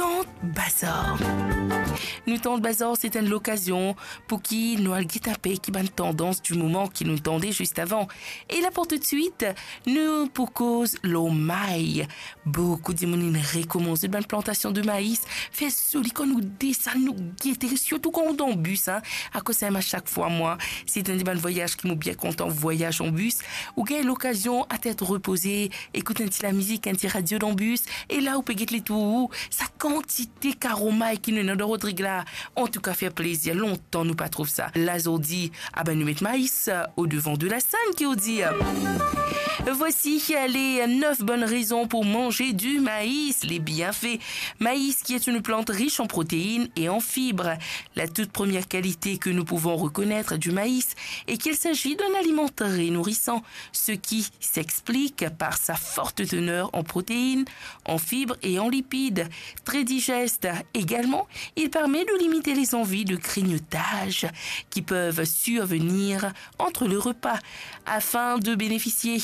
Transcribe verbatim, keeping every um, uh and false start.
Tant Bazar. Nou Tant Bazar, se enn lokazion pou ki nou al get inpe ki bann tandans di moman ki nou tande zis avan. E la pou toutswit, nou pou koz lor may. Boukou dimoun inn rekoumans zot bann plantasion de mais. Fer zoli kan nou desann, nou gete, sirtou kan ou dan bis, hein. Akoz sa, mwa, sak fwa, mwa, se enn de bann vwayaz ki mo bien kontan vwayaz an bis. Ou gagn lokazion a tet repoze, ekout enn ti lamizik, enn ti radio dan bis, e la ou pe get letour ou, sa kantite karo may ki nou ena dan Rodrig la. Antouka, fer plezir, lontan nou pa trouv sa. La zordi, abe, nou met mais, euh, au devant de la scène, ki ou dir. Voici les neuf bonnes raisons pour manger du maïs, les bienfaits. Maïs, qui est une plante riche en protéines et en fibres. La toute première qualité que nous pouvons reconnaître du maïs est qu'il s'agit d'un aliment très nourrissant, ce qui s'explique par sa forte teneur en protéines, en fibres et en lipides. Très digeste également, il permet de limiter les envies de grignotage qui peuvent survenir entre les repas. Afin de bénéficier